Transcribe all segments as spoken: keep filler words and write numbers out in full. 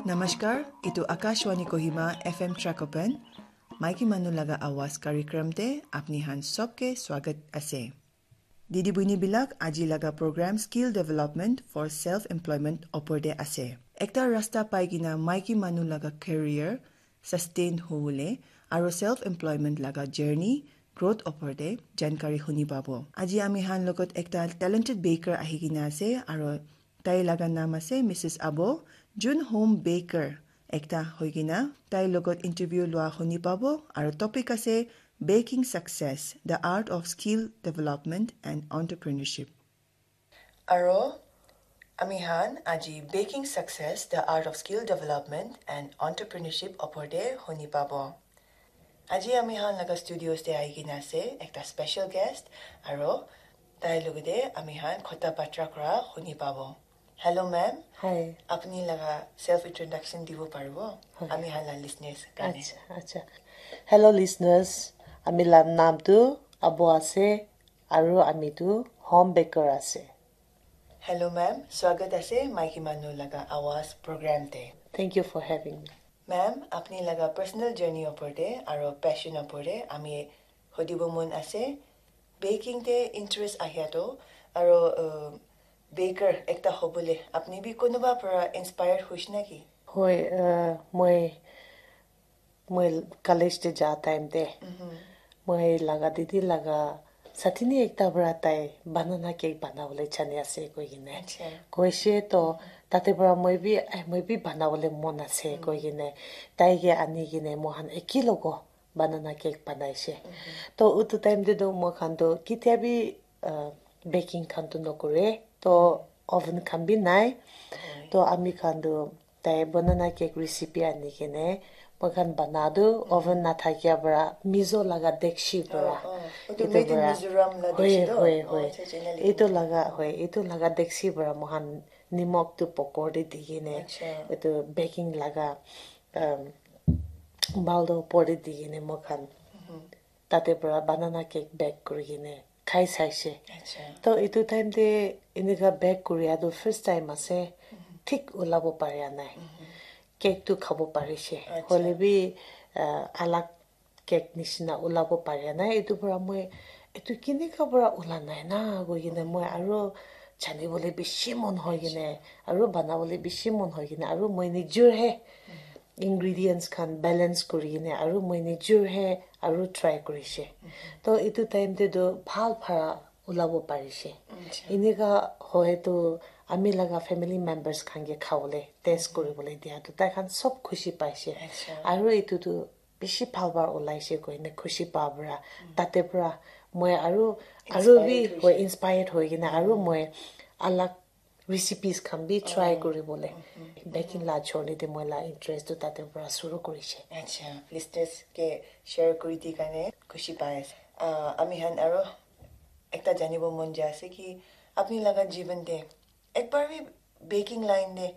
Namaskar, itu Akashvani Kohima F M Trakopan, Maiki Manu Laga Awaz karikram te apni han sobke swagat ase. Didi buini bilak, aji laga program Skill Development for Self Employment opor te ase. Ekta rasta pai kina maiki manu laga career sustain hobole aro self employment laga journey growth opor te jankari huni pabo. Aji ami han logot ekta talented baker ahi kina ase aro tai laga naam ase Missus Abo, jun home baker ekta hoi kina tai logot interview lua huni pabo aro topic ase Baking Success, The Art of Skill Development and Entrepreneurship. Aro ami han aji Baking Success, The Art of Skill Development and Entrepreneurship opor te huni pabo. Aji ami han laga studios te ahi kina ase ekta special guest aro tai logote ami han kotha batra kura huni pabo. Hello ma'am. Hi. Apni laga self introduction dibo paribo? Hi. Ami han la listeners karne. Acha, acha. Hello listeners, ami la naam tu Abo ase aro ami tu home baker ase. Hello ma'am, swagat ase Maiki Manu Laga Awaz program te. Thank you for having me. Ma'am, apni laga personal journey opor te aro passion opor te ami hudibo mon ase. Baking te interest ahia to aro uh, baker ekta hobole apni bi kunuba para inspired hoish na ki? Hoi, uh, moi moi college te ja time te moi laga didi laga satini ekta para tai banana cake banabole jani ase koi kine. Acha. Koise to tate para moi bi, "Ai, moi bi banabole mon ase," koi kine tai ke ani kine mohan eki logo banana cake banaise. To utu time te to moi khan to kitia bi uh, baking khan tu nokore to oven khan bi nai. To ami khan tu tai banana cake recipe ani kene moi khan bana tu oven na thakia para mizo laga dekshi para. Oh, oh. Utu etu made in para Mizoram la hoi dekshi to? Hoi. Oh, hoi. Acha, acha, ena likhina. Etu laga hoi, etu laga dekshi para moi khan nimok tu pokor te di kene Acha. Etu baking laga um, bowl tu opor te di kene moi khan tate para banana cake bake kuri kene khai saise. Acha. To etu time te enika bake kuria tu first time ase. Thik ulabo paria nai. Cake tu khabo parise. Acha. Hoile bi uh, alag cake nishina ulabo paria nai. Etu para moi etu kinika para ula nai na koi kena moi aro jani bole bishi mon hoi kena aro bana bole bishi mon hoi kena aro moi nijor he ingredients khan balance kuri kena aro moi nijor he aro try kurise. To etu time te tu bhal para ulabo parise. Acha. Enika hoi to ami laga family members khan ke khabole test kuribole dia to tai khan sob khushi paise. Acha. Aro etu tu bishi bhal para ulaise koine khushi pa para tate para moi aro aro bi Inspired hoi hoise. Inspired hoi kena aro moi alag recipes khan bi try kuribole baking la journey te moi la interest tu tate para shuru kurise. Acha, listeners ke share kuri di karne khushi pai ase. Ah, ami khan aro ekta janibo mon jai ase ki apni laga jiban te ekbar bi baking line te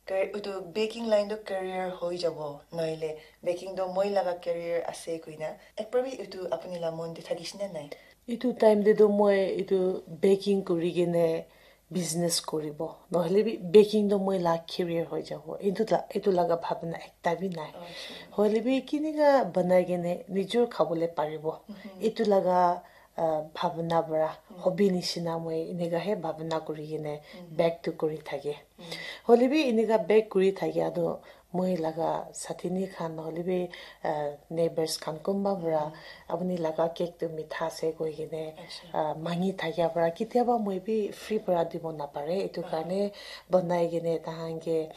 car-, utu baking line to career hoi jabo nohile baking to moi laga career ase koina ekbar bi utu apni la mon te thakishe na nai? Etu time te to moi etu baking kuri kene business kuribo nohole bi baking to moi la career hoi jabo etu la etu laga bhabna ekta bi nai. Hoile bi kinika banai kene nijor khabole paribo etu laga ah, bhabna para hobby nishina moi enika he bhabna kuri kene bake tu kuri thake. Hoile bi enika bake kuri thakia tu moi laga sathini khan hoile bi ah, neighbors khan kunba para apni laga cake tu mitha ase koi kene ah, mangi thakia para kitiaba moi bi free para dibo napare etu karne banai kene tahan ke